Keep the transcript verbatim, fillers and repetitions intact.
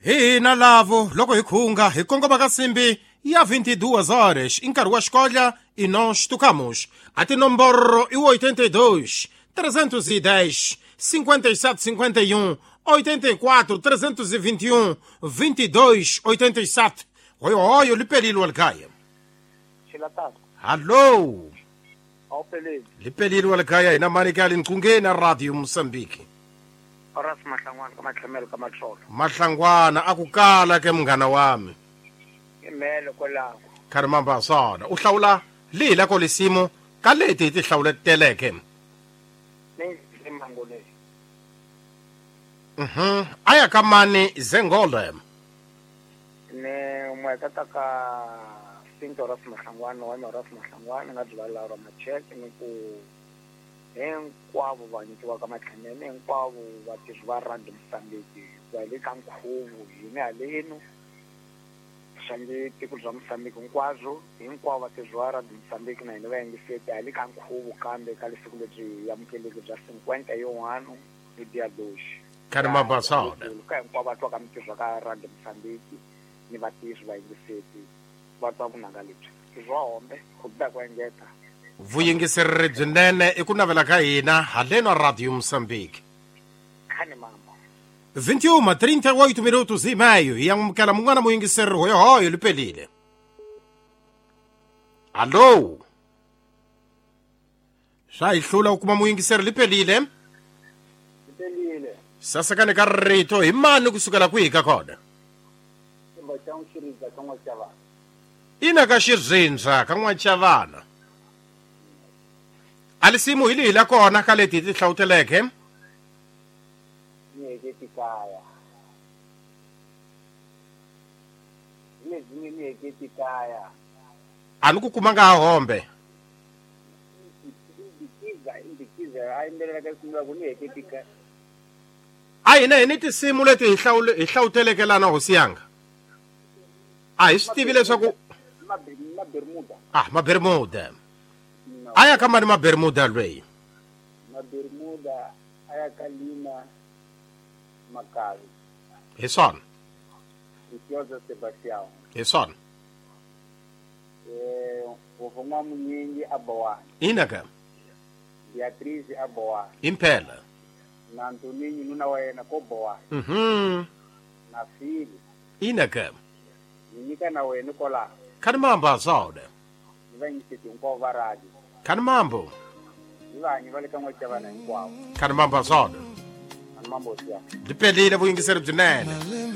Hina lavo loko hi khunga hi kongoma ka simbi ya vinte e duas horas i nkarhi wa xikodla e nós tocamos a tinomboro i oitenta e dois, trezentos e dez, cinquenta e sete, cinquenta e um, oitenta e quatro, trezentos e vinte e um, vinte e dois, oitenta e sete. Oi, oi, lipelilo alkaya. Alô. Lipelilo alkaya ina manikali nkunge na Radio Mozambique. Horace Mahlangwana ka matlhamelo ka matlholo. Mahlangwana akukala ke mngana wami. Imele kwalaho. Karimamba sona u hlawula lihi la ko lisimo ka leti ti hlawuleteleke. Ni mangole. Mhm. Aya ka mani zengole. Ne mweka ka Sinto Horace Mahlangwana wa Horace Mahlangwana nga dlala ra macheke ni ku hinkwavo va nyikiwaka matlhamelo hinkwavo vatirhi va Radio Mozambique va le ka nkhuvo hina halenu xange tiko bya Mozambique hinkwabyo hinkwavo vatirhi va Radio Mozambique na hina va yingiseti ha le ka nkhuvo kambe ka lesiku lebyi amukeleki bya cinquenta e um ano hi dia dois Karimabasana ka hinkwavo va twaka mintirho ka Radio Mozambique ni vatirhi va yingiseti va twa vunanga lebyi bya hombe ku biha ku engeta vuyingiseri byinene i ku navela ka hina haleno Radio Mozambique. Khani mama. vinte e uma, trinta e oito minutos e meio hi amukela mun'wana muyingiseri hoyohoyo lipelile. Allo. Swa hi hlula u kuma muyingiseri lipelile. Lipelile. Sasekane ka rito hi mani kusukela kwihi ka kona? Ina ka xirindza ka N'wachavana. Alisimu hi lihi la kona ka leti ti hlawuteleke? Ni heketi kaya. Ni ni heketi kaya. A ni ku kumanga ha hombe. Indikiza, indikiza, a yimbelela ka risimu ra ku ni heketi kaya. A hina hi ni tinsimu leti hi hlawule hi hlawuteleke lana hosi yanga. A hi swi tivi leswaku Mabermuda. Ah, Mabermuda. Aya ka mani Mabermuda lweyi? Mabermuda aya ka Lina Makavi. Hi swona. Itioza Sebastião. Hi swona. Eh, vofuma munyingi abowani. Ina ka? Beatriz abowani. Impela. Na Antoninho nuna wa yena ko bowani. Mhm. Na Fili. Ina ka? Ni nyika na wena kola. Khani mamba sona. Ni va nyiketi hinkwavo va radio. Khani mambo. Ni vanyi va le ka N'wachavana hinkwavo. Khani mamba sona. Khani mambo siya. Lipelile vuyingiseri byinene.